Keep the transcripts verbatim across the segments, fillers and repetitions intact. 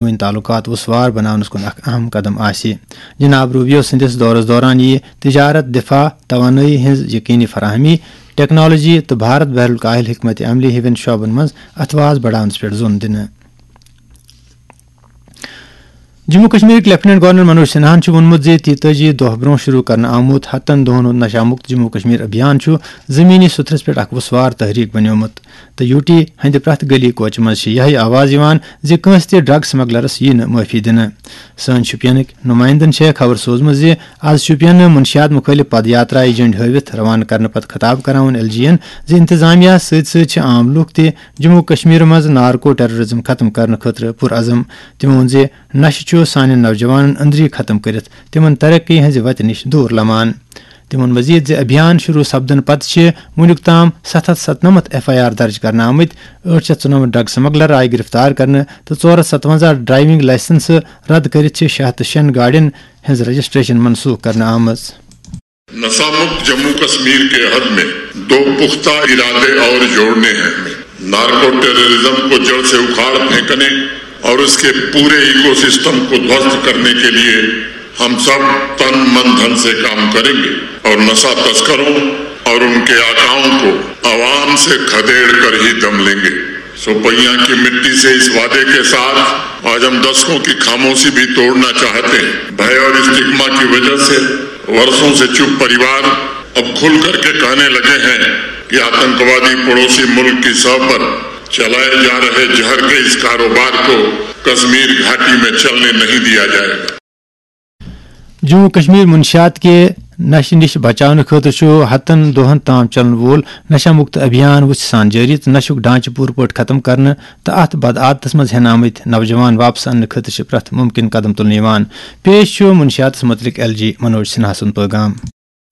وۄنۍ تعلقات وسوار بناونس کُن اکھ اہم قدم آسہِ۔ جناب روبیو سٕنٛدِس دورس دوران یِیہِ تجارت، دفاع، توانٲیی ہٕنٛز یقینی فراہمی، ٹیکنالوجی تہٕ بھارت بحر الکاہل حکمت عملی ہِوٮ۪ن شعبن منٛز اتھواز بڑاونس پٮ۪ٹھ زون دِنہٕ۔ جموں کشمیرٕکۍ لیفٹیننٹ گورنر منوج سنہاہن چھُ ووٚنمُت زِ تیتٲجی دۄہ برٛونٛہہ شروع کرنہٕ آمُت ہتن دۄہن ہُنٛد نشہ مُکت جموں کشمیر ابھیان چھُ زمینی سطحس پٮ۪ٹھ اکھ وسوار تحریک بنیومُت۔ تہٕ یو ٹی ہٕنٛدِ پرٛٮ۪تھ گلی کوچہِ منٛز چھِ یِہے آواز یِوان زِ کٲنٛسہِ تہِ ڈرگ سمگلرس ییہِ نہٕ معٲفی دِنہٕ۔ سٲنۍ شوپینٕکۍ نُمایندن چھےٚ خبر سوزمٕژ زِ از شوپین منشیات مُخٲلف پد یاترایہِ جنڈ ہٲوِتھ روانہٕ کرنہٕ پتہٕ خطاب کران ووٚن ایل جی ین زِ انتظامیہ سۭتۍ سۭتۍ چھِ عام لوٗکھ تہِ جموں کشمیر منٛز نارکو ٹیررزم ختم کرنہٕ خٲطرٕ پُرعزم۔ تِمو ووٚن زِ نشہٕ چھُ سانٮ۪ن نوجوانن أنٛدری ختم کٔرِتھ تِمن ترقی ہٕنٛزِ وتہِ نِش دوٗر لمان۔ تِمن مزید زِ ابھیان شروع سپدن پتہٕ چھِ وُنیُک تام ستھ ہتھ ستنمتھ ایف آئی آر درج کرنہٕ آمٕتۍ، ٲٹھ شیٚتھ ژُنمتھ ڈرگ سمگلر آیہِ گرفتار کرنہٕ تہٕ ژور ہتھ ستونزہ ڈرائیونگ لائسنس رد کٔرِتھ چھِ شیٚے ہتھ تہٕ شیٚن گاڑٮ۪ن ہٕنٛز رجسٹریشن منسوخ کرنہٕ آمٕژ۔ نشہ مکت جموں کشمیر کے عہد میں دو پختہ ارادے اور جوڑنے ہیں۔ نارکو ٹیررزم کو جڑ سے اکھاڑ پھینکنے اور اس کے پورے ایکو سسٹم کو ध्वस्त करने के लिए हम सब तन मन धन से काम करेंगे और नशा तस्करों और उनके आकाओं को आवाम से खदेड़ कर ही दम लेंगे। सोपैया की मिट्टी से इस वादे के साथ आज हम दशकों की खामोशी भी तोड़ना चाहते हैं। भय और स्टिग्मा की वजह से वर्षों से चुप परिवार अब खुल करके कहने लगे हैं कि आतंकवादी पड़ोसी मुल्क की सह पर चलाए जा रहे जहर के इस कारोबार को कश्मीर घाटी में चलने नहीं दिया जाएगा। جموں کشمیر منشیات کہِ نشہٕ نِش بچاونہٕ خٲطرٕ چھُ ہتن دۄہن تام چلن وول نشہ مکت ابھیان وُژھِ سان جٲری تہٕ نشُک ڈھانچہٕ پوٗرٕ پٲٹھۍ ختم کرنہٕ تہٕ اتھ بدعادتس منٛز ہٮ۪نہٕ آمٕتۍ نوجوان واپس اننہٕ خٲطرٕ چھِ پرٛٮ۪تھ مُمکِن قدم تُلنہٕ یِوان۔ پیش چھُ منشیاتس مُتعلق ایل جی منوج سنہا سُنٛد پیغام۔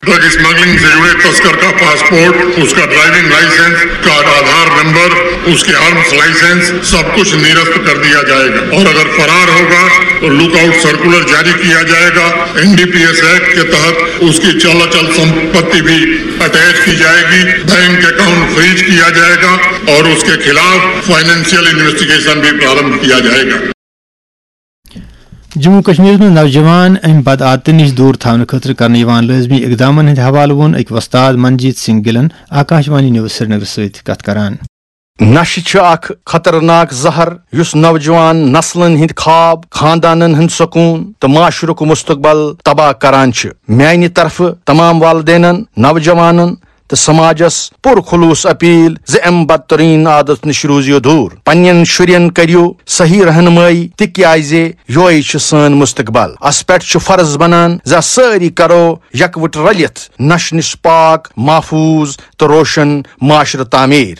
ड्रग स्मगलिंग से जुड़े तस्कर का पासपोर्ट, उसका ड्राइविंग लाइसेंस, उसका आधार नंबर, उसके आर्म्स लाइसेंस, सब कुछ निरस्त कर दिया जाएगा और अगर फरार होगा तो लुकआउट सर्कुलर जारी किया जाएगा। एनडीपीएस एक्ट के तहत उसकी चल अचल संपत्ति भी अटैच की जाएगी, बैंक अकाउंट फ्रीज किया जाएगा और उसके खिलाफ फाइनेंशियल इन्वेस्टिगेशन भी प्रारंभ किया जाएगा। جموں کشمیرس منٛز نوجوان امہِ بدعادتہٕ نِش دوٗر تھاونہٕ خٲطرٕ کرنہٕ یِوان لٲزمی اقدامن ہٕنٛدِ حوالہٕ ووٚن أکۍ وۄستاد منجیت سنگھ گِلن آکاشوانی نیوز سرینگر سۭتۍ کتھ کران۔ نشہٕ چھُ اکھ خطرناک زہر یُس نوجوان نسلن ہٕنٛدۍ خواب، خاندانن ہُنٛد سکوٗن تہٕ معاشرُک مستقبل تباہ کران چھُ۔ میانہِ طرفہٕ تمام والدینن، نوجوانن تہٕ سماجس پُرخلوص اپیل زِ امہِ بدترین عادت نِش روٗزِو دوٗر۔ پننٮ۪ن شُرٮ۪ن کٔرِو صحیح رہنمٲیی، تِکیازِ یوہے چھُ سٲنۍ مستقبل۔ اس پٮ۪ٹھ چھُ فرض بنان زِ سٲری کرو یکوٹہٕ رلِتھ نشہٕ نِش پاک، محفوظ تہٕ روشن معاشرٕ تعمیٖر۔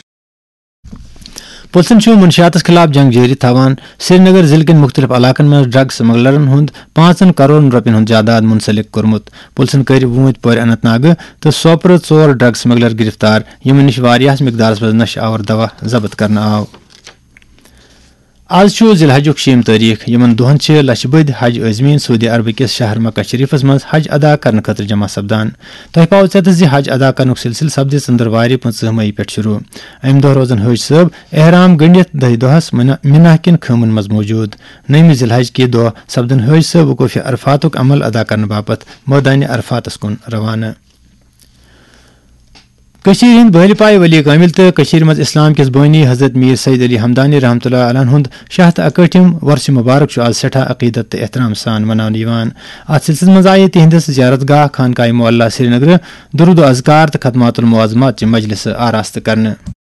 پُلسن چھُ منشیاتس خلاف جنگ جٲری تھاوان۔ سرینگر ضلعہٕ کٮ۪ن مُختٔلِف علاقن منٛز ڈرگ سمگلرن ہُنٛد پانٛژن کرورن رۄپین ہُنٛد جائیداد منسلک کوٚرمُت۔ پُلسن کٔرۍ وٲنٛتۍ پورِ اننت ناگہٕ تہٕ سوپرٕ ژور ڈرگ سمگلر گرفتار، یِمن نِش واریاہس مقدارس منٛز نشہٕ آور دوا ضبط کرنہٕ آو۔ از چھُ ذی الحجُک شیٚیِم تٲریخ۔ یِمن دۄہن چھِ لچھِ بٔدۍ حج عٲزمیٖن سعودی عربہٕ کِس شہر مکہ شریفس منٛز حج ادا کرنہٕ خٲطرٕ جمع سپدان۔ تۄہہِ پاوٕ ژٮ۪تس زِ حج ادا کرنُک سلسلہٕ سپدِ ژٔنٛدٕروارِ پٕنٛژٕہ مئی پٮ۪ٹھ شروع۔ امہِ دۄہ روزن حٲج صٲب احرام گٔنڈِتھ دہہِ دۄہس منا-، مِناہ کٮ۪ن خٲمن منٛز موجود۔ نٔیمہِ ذی الحج کہِ دۄہ سپدن حٲج صٲب وقوفِ عرفاتُک عمل ادا کرنہٕ باپتھ مٲدانِ عرفاتس کُن روانہٕ۔ کٔشیٖرِ ہٕنٛدۍ بٲلۍ پایہِ ولی کامل تہٕ کٔشیٖرِ منٛز اسلام کِس بٲنی حضرت میر سید علی ہمدانی رحمتہ اللہ علیہ ہُنٛد شیٚے ہتھ اکٲٹھِم وۄرسہِ مبارک چھُ از سٮ۪ٹھاہ عقیدت تہٕ احترام سان مناونہٕ یِوان۔ اتھ سلسلس منٛز آیہِ تِہنٛدِس زیارت گاہ خانقاہ معلیٰ سرینگرٕ درود و اذکار تہٕ ختمات المعظمات چہِ مجلسہٕ آراستہٕ کرنہٕ۔